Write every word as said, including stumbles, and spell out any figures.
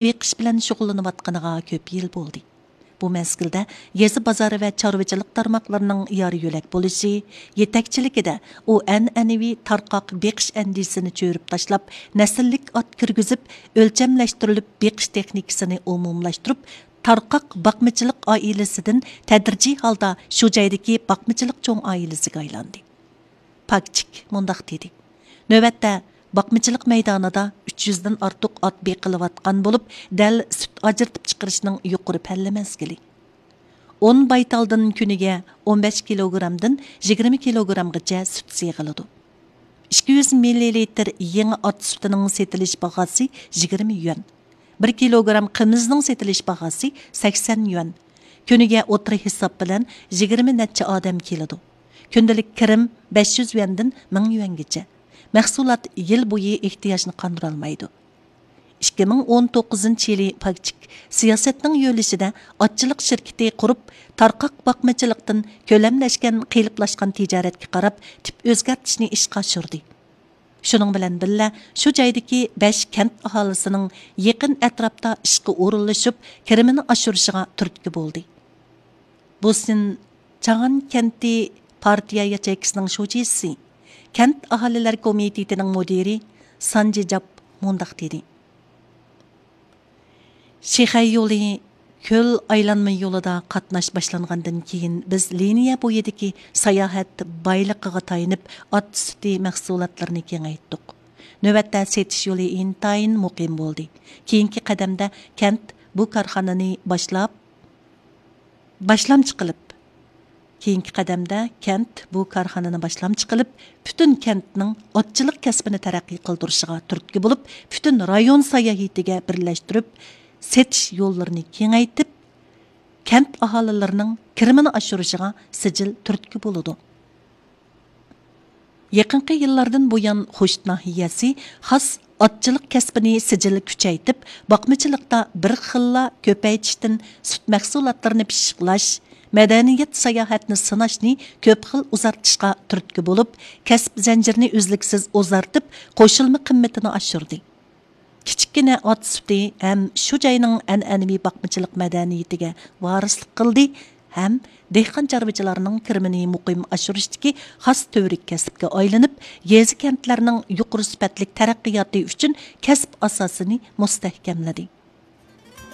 بېقىش بىلەن شۇغۇللىنىۋاتقىنىغا كۆپ يىل بولدى. بۇ مەزگىلدە يېزا، بازار ۋە چارۋىچىلىق تارماقلىرىنىڭ يار يۆلەك بولۇشى يېتەكچىلىكىدە ئۇ ئەنئەنىۋى تارقاق بېقىش ئەندىزىسىنى چۆرۈپ تاشلاپ، نەسىللىك ئات كىرگۈزۈپ، ئۆلچەملەشتۈرۈلۈپ بېقىش تېخنىكىسىنى ئومۇملاشتۇرۇپ، تارقاق باقمىچىلىق ئائىلىسىدىن تەدرىجىي ھالدا شۇ جايدىكى باقمىچىلىق چوڭ ئائىلىسىگە ئايلاندى. پاكچىك مۇنداق دېدى: نۆۋەتتە باقمىچىلىق مەيدانىدا ئۈچ يۈزدىن ئارتۇق ئات بېقىلىۋاتقان بولۇپ، دەل سۈت ئاجرىتىپ چىقىرىشنىڭ يۇقىرى پەللە مەزگىلى. ئون بايتالدىن كۈنىگە ئون بەش كىلوگرامدىن يىگىرمە كىلوگرامغىچە سۈت سېغىلىدۇ. ئىككى يۈز مىللىلىتىر يېڭى ئات سۈتىنىڭ سېتىلىش باھاسى يىگىرمە يۈەن. بىر كىلوگرام قىمىزنىڭ سېتىلىش باھاسى سەكسەن يۈەن. كۈنىگە ئوتتۇرا ھېساب بىلەن يىگىرمە نەچچە ئادەم كېلىدۇ. كۈندىلىك كىرىم بەش يۈز يۈەندىن مىڭ يۈەنگىچە. مەھسۇلات يىل بويى ئېھتىياجنى قاندۇرالمايدۇ. ئىككى مىڭ ئون توققۇزىنچى يىلى پاكچىك سىياسەتنىڭ يۆلىشىدە ئاتچىلىق شىركىتى قۇرۇپ، تارقاق باقمىچىلىقتىن كۆلەملەشكەن، قېلىپلاشقان تىجارەتكە قاراپ تىپ ئۆزگەرتىشنى ئىشقا ئاشۇردى. شۇنىڭ بىلەن بىللە، شۇ جايدىكى بەش كەنت ئاھالىسىنىڭ يېقىن ئەتراپتا ئىشقا ئورۇنلىشىپ، كىرىمىنى ئاشۇرۇشىغا تۈرتكە بولدى. بۇسىن چاغان كەنتى پارتىيە ياچېيكىسىنىڭ شۇجىسى، كەنت ئاھالىلەر كومىتېتىنىڭ مۇدىرى سانجى جاپ مۇنداق دېدى: شىخەي يولى كۆل ئايلانما يولىدا قاتناش باشلانغاندىن كېيىن، بىز لىنىيە بويىدىكى ساياھەت بايلىقىغا تايىنىپ، ئات سۈتى مەھسۇلاتلىرىنى كېڭەيتتۇق. نۆۋەتتە سېتىش يولى ئىنتايىن مۇقىم بولدى. كېيىنكى قەدەمدە كەنت بۇ كارخانىنى باشلاپ، باشلامچى قىلىپ، كېيىنكى قەدەمدە كەنت بۇ كارخانىنى باشلامچى قىلىپ، پۈتۈن كەنتنىڭ ئاتچىلىق كەسپىنى تەرەققىي قىلدۇرۇشىغا تۈرتكە بولۇپ، پۈتۈن رايون ساياھىتىگە بىرلەشتۈرۈپ، سېتىش يوللىرىنى كېڭەيتىپ، كەنت ئاھالىلىرىنىڭ كىرىمىنى ئاشۇرۇشىغا سىجىل تۈرتكە بولىدۇ. يېقىنقى يىللاردىن بۇيان، خوشۇت ناھىيەسى خاس ئاتچىلىق كەسپىنى سىجىل كۈچەيتىپ، باقمىچىلىقتا بىر خىللا كۆپەيتىشتىن سۈت مەھسۇلاتلىرىنى پىششىقلاش، مەدەنىيەت ساياھەتنى سىناشنى كۆپ خىل ئۇزارتىشقا تۈرتكە بولۇپ، كەسىپ زەنجىرىنى ئۈزلۈكسىز ئۇزارتىپ، قوشۇلما قىممىتىنى ئاشۇردى. كىچىككىنە ئات سۈتى ھەم شۇ جاينىڭ ئەنئەنىۋى باقمىچىلىق مەدەنىيىتىگە ۋارىسلىق قىلدى ھەم دېھقان چارۋىچىلارنىڭ كىرىمىنى مۇقىم ئاشۇرۇشتىكى خاس تۈۋرۈك كەسىپكە ئايلىنىپ، يېزا كەنتلەرنىڭ يۇقىرى سۈپەتلىك تەرەققىياتى ئۈچۈن كەسىپ ئاساسىنى مۇستەھكەملىدى.